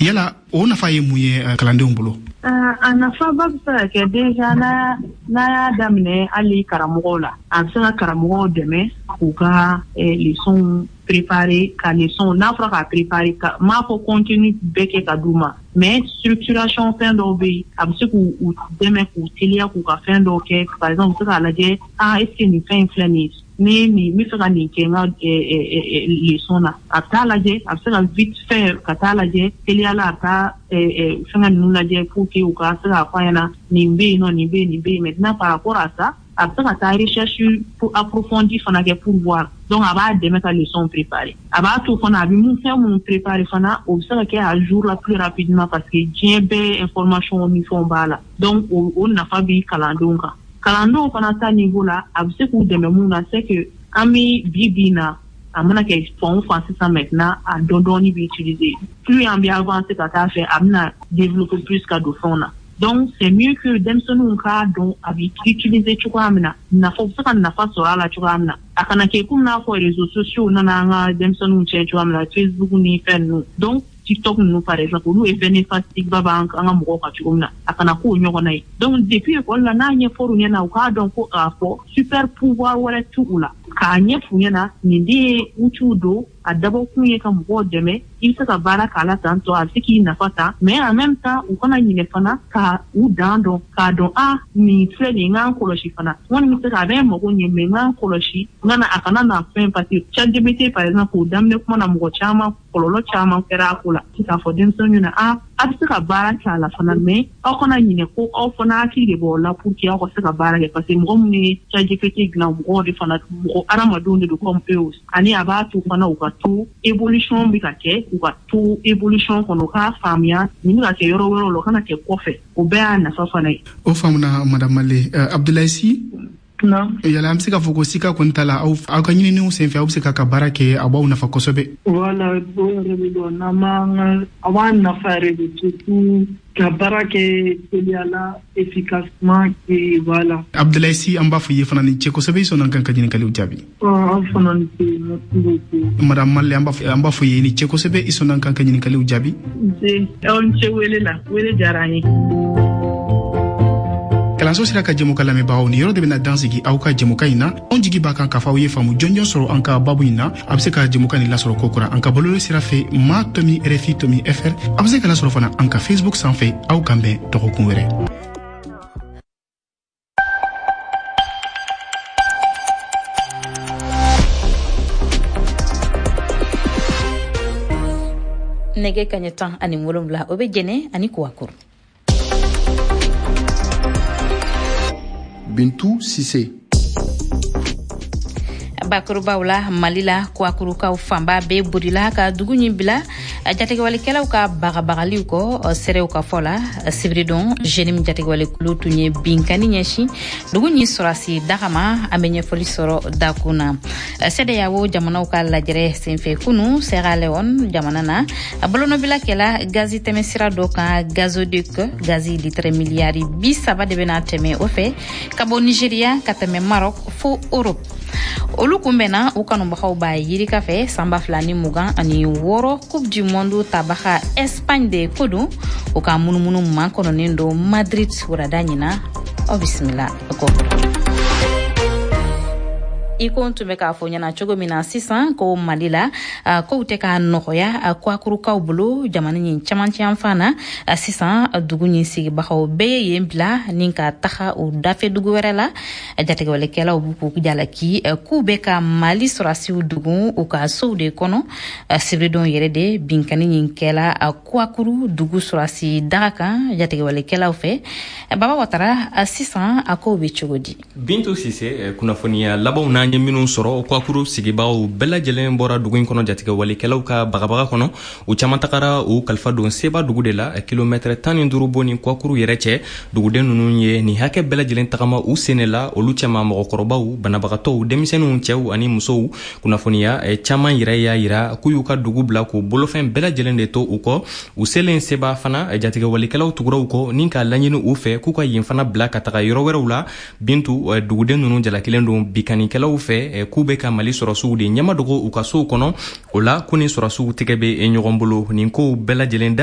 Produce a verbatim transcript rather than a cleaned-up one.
Yala o nafa ye mun ye kalandenw bolo? A nafaba bɛ se ka kɛ déjà n'a n'a y'a daminɛ hali karamɔgɔw la, a bɛ se ka karamɔgɔw dɛmɛ k'u ka leçons préparer, ka leçon n'a fɔra k'a préparer, ka m'a fɔ contenu bɛɛ kɛ ka d'u ma, mais structuration fɛn dɔw bɛ yen, a bɛ se k'u dɛmɛ k'u teliya k'u ka fɛn dɔw kɛ. Par exemple, u bɛ se k'a lajɛ, ah, est ce que nin fɛn in filɛ nin ye, ni nin n bɛ fɛ ka nin kɛ n ka leçon na, a bɛ taa lajɛ, a bɛ se ka vite fait ka taa lajɛ teliya la, a bɛ taa fɛngɛ ninnu lajɛ pour que u ka se k'a fɔ a ɲɛna nin bɛ yen nɔ, nin bɛ yen, nin bɛ yen. Maintenant, par rapport à ça, a bɛ se ka taa recherche approfondie fana kɛ pour voir. Donc a b'a dɛmɛ ka leçon préparer, a b'a to fana a bɛ mun fɛn minnu préparer fana, o bɛ se ka kɛ à jour la plus rapidement, parce que diɲɛ bɛɛ information ni fɛnw b'a la. Donc o o nafa bi kalandenw kan. Kalandenw fana ta niveau la, a bɛ se k'u dɛmɛ mun na, c'est que an bɛ bi bi in na, a mana kɛ fan o fan sisan, maintenant a dɔn dɔɔni bɛ utiliser. Plus an bɛ avancer ka taa fɛ, a bɛna développer plus ka don fɛnw na. Donc c'est mieux que denmisɛnninw k'a dɔn a bɛ utiliser cogoya min na, nafa u bɛ se ka nafa sɔrɔ a la cogoya min na. A kana kɛ komi n'a fɔ réseaux sociaux nana an ka denmisɛnninw tiɲɛ cogoya min na, Facebook ni fɛn ninnu, donc TikTok ninnu par exemple, olu effet néfaste ba b'an an ka mɔgɔw kan cogo min na, a kana k'o ɲɔgɔnna ye. Donc depuis école la, n'a ɲɛfɔr'u ɲɛna, u k'a dɔn ko k'a fɔ super pouvoir wɛrɛ t'u la, k'a ɲɛf'u ɲɛna nin de ye outils don, a dabɔkun ye ka mɔgɔw dɛmɛ, i bɛ se ka baara k'a la tantɔ, a bɛ se k'i nafa ta, mais en même temps u kana ɲinɛ fana ka u dan dɔn, k'a dɔn a nin filɛ nin ye, n k'an kɔlɔsi fana, n kɔni bɛ se ka a bɛ n mago ɲɛ, mais n k'an kɔlɔsi n kana a kana na fɛn, parce que ChatGPT par exemple, o daminɛ kuma na, mɔgɔ caman kɔlɔlɔ caman kɛra a ko la. K'a fɔ denmisɛnninw ɲɛna, a a bɛ se ka baara kɛ a la fana, mais aw kana ɲinɛ ko aw fana hakili de b'aw la pour que aw ka se ka baara kɛ, parce que mɔgɔ minnu ye ChatGPT dilan, mɔgɔw de fana, mɔgɔ hadamadenw de don comme eux aussi. Ani a b'a to fana u ka to évolution bɛ ka kɛ, u ka to évolution kɔnɔ, u k'a faamuya nin bɛ ka kɛ yɔrɔ wɛrɛw la, u kana kɛ kɔfɛ. O bɛɛ y'a nafa fana ye. O faamuna, madame Male. Abdoulaye Sy, yala an bɛ se k'a fɔ ko sika kɔni t'a la, aw aw ka ɲininiw senfɛ, aw bɛ se k'a ka baara kɛ, a b'aw nafa kosɛbɛ? Voilà, o yɛrɛ de don, n'an b'an ka a b'an nafa yɛrɛ de, surtout ka baara kɛ teliya la, efficacement, et voilà. Abdoulaye Sy, an b'a fɔ i ye fana ni ce kosɛbɛ, i sɔnna an kan ka ɲininkaliw jaabi. Aw fana ni ce, merci beaucoup. Madame Male, an b'a fɔ an b'a fɔ i ye ni ce kosɛbɛ, i sɔnna an kan ka ɲininkaliw jaabi. Nse, aw ni ce wele la, wele diyara an ye. Kalanso sira ka jɛmukan lamɛnbagaw, ni yɔrɔ de bɛna dan sigi aw ka jɛmukan in na. Anw jigi b'a kan k'a fɔ aw ye faamu jɔnjɔn sɔrɔ an ka babu in na. A bɛ se ka jɛmukan nin lasɔrɔ kokura an ka bɔlɔlɔ sira fɛ, ma tomi rfi tomi fr. A bɛ se ka lasɔrɔ fana an ka Facebook sanfɛ. Aw kan bɛn dɔgɔkun wɛrɛ. Nɛgɛ kaɲɛ tan ani wolonwula, o bɛ jɛnɛ ani kuwakuru. Bintu Sise. Bakurubaw la, Mali la, kuwakurukaw fanba bɛɛ bolila ka dugu ɲin bila jatigɛwalikɛlaw ka bagabagaliw kɔ. Seerew ka fɔ la, sibiridon JNIM jatigɛwalekulu tun ye binkani ɲɛsin dugu ɲin sɔrɔsi daga ma. An bɛ ɲɛfɔli sɔrɔ dakun na. CEDEAO jamanaw ka lajɛrɛ senfɛ kunu Sierra Leone jamana na, bolonɔbila kɛla gazi tɛmɛsira dɔ kan, gazoduc, gazi litre miliyari bi saba de bɛna tɛmɛ o fɛ ka bɔ Nigeria ka tɛmɛ Maroc fo Europe. Olu kunbɛnna u kanubagaw b'a yirika fɛ. San ba fila ni mugan ani wɔɔrɔ Coupe du Monde tabaga Espagne de ko don, u ka munumunu makɔnɔnen don Madrid wurada ɲina. Aw bisimila kɔ. I ko n tun bɛ k'a fɔ ɲɛna cogo min na sisan ko Mali la, kow tɛ ka nɔgɔya kuwakurukaw bolo jamana ɲin camancɛ yanfan na. Sisan dugu ɲin sigibagaw bɛɛ ye yen bila ni ka taga u dafɛ dugu wɛrɛ la. Jatigɛwalekɛlaw b'u k'u jalaki k'u bɛ ka Mali sɔrɔsiw dugu u ka sow de kɔnɔ. Sibiridon yɛrɛ de binkani ɲin kɛla kuwakuru dugu sɔrɔsi daga kan jatigɛwalekɛlaw fɛ. Baba Watara, sisan a kow bɛ cogo di? Bintu Sise, kunnafoniya labanw n'an ye minnu sɔrɔ, Kuwakuru sigibagaw bɛɛ lajɛlen bɔra dugu in kɔnɔ jatigɛwalikɛlaw ka bagabaga kɔnɔ. U caman tagara u kalifa don Seba dugu de la, kilomɛtɛrɛ tan ni duuru bɔ ni Kuwakuru yɛrɛ cɛ. Duguden ninnu ye nin hakɛ bɛɛ lajɛlen tagama u sen de la, olu cɛma mɔgɔkɔrɔbaw, banabagatɔw, denmisɛnninw, cɛw ani musow. Kunnafoniya caman yɛrɛ y'a yira k'u y'u ka dugu bila k'u bolofɛn bɛɛ lajɛlen de to u kɔ. U selen Seba fana, jatigɛwalikɛlaw tugura u kɔ ni k'a laɲini u fɛ k'u ka yen fana bila ka taga yɔrɔ wɛrɛw la. Bintu, duguden ninnu jalakilen don bikanikɛlaw fɛ k'u bɛ ka Mali sɔrɔsiw de ɲɛmadogo u ka sow kɔnɔ. O la ko ni sɔrɔsiw tɛgɛ bɛ ɲɔgɔn bolo nin kow bɛɛ lajɛlen.